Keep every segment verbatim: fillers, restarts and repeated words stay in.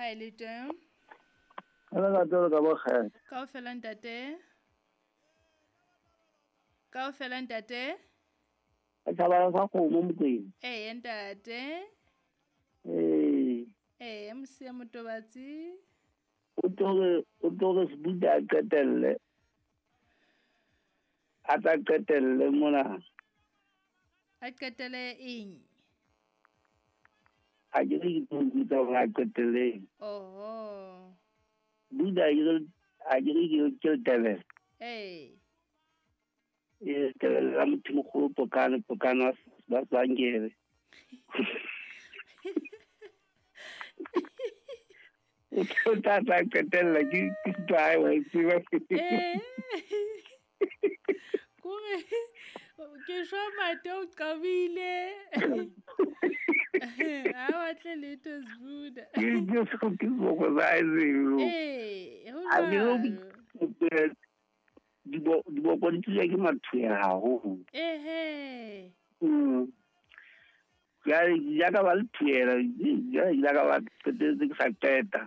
Ha e le teng. Ala ka tlo ka bokgela. Kaofela ntate. Kaofela ntate. Thabala sa kgomo Mokwena. Ee ntate. Ee. Ee Mosia Motobatsi. O tore o tore Sbuda a qetelle. A tla qetelle mona. A qetelle eng? A ke re ke tlo hore a qetelle. Oho. Buda a ke re ke le Ee. E tebele la motho mogolo pokano pokano ba tsangere. O tla tla qetella ke ke tla wa tseba. Eh. Kore ke shwa mate o qabile. Ha batle letho Sbuda. Ke ke ke go ba tseo. Eh, ho A ke Dibo diboko di tswa ke mathuela haholo. Ehe. Mm. Ya ya ka ba le thuela, ya ya ka ba qetetse ke sa qeta.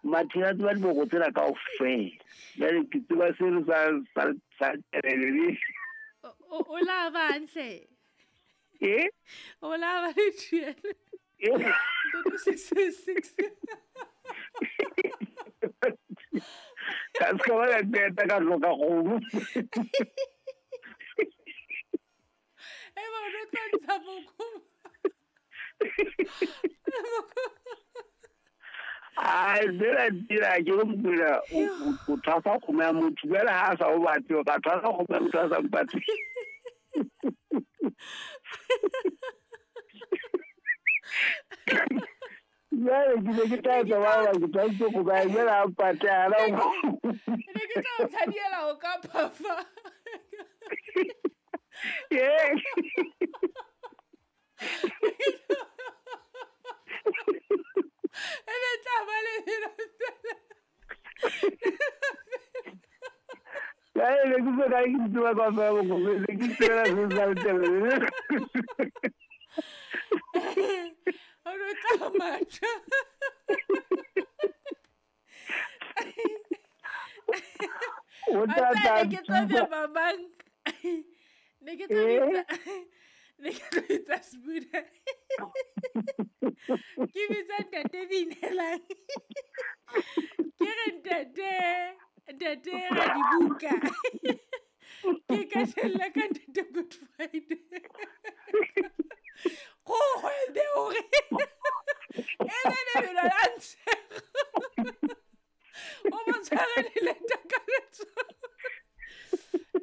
Mathuela tseba diboko tsena kaofela. Jwale ke tseba seno sa sa sa telele. O o la ba ntle. Eh? O la ba le thuela. Eh. Six six. Ka se ka ba ka qeta ka hloka kgomo. E ba o tlo ntsha boko. Ai, tsela tsela ke re Mokwena o thwasa kgomo ya motho jwale ha a sa o batle o ka thwasa kgomo ya motho a sa mpatle. Jwale ke ne ke tla etsa ba ba ke tshwanetse go ba jwale a mpatle hana o. Ne ke tla o tshadiela o ka phafa. Ee. E ne tla ba le Jwale ne ke so ka ke tseba kaofela bokgomo, ne ke tsebela se sa le. O no tla matha. O tla tla Ne ke tlo bitsa ba bang. Ne ke tlo bitsa ne ke tlo bitsa Sbuda. Ke bitsa ntate Binelang. Ke re ntate, ntate ra dibuka. Ke ka tella ka ntate Good Friday. Go hwede hore. E ne ne belo la ntshego. O mo tshware le leta ka letsoho.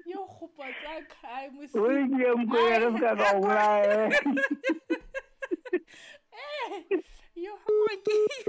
Yo kgopa tsa kae Mosia. O re ke Mokwena re se ka ka o bolaya. Eh, yo ha ke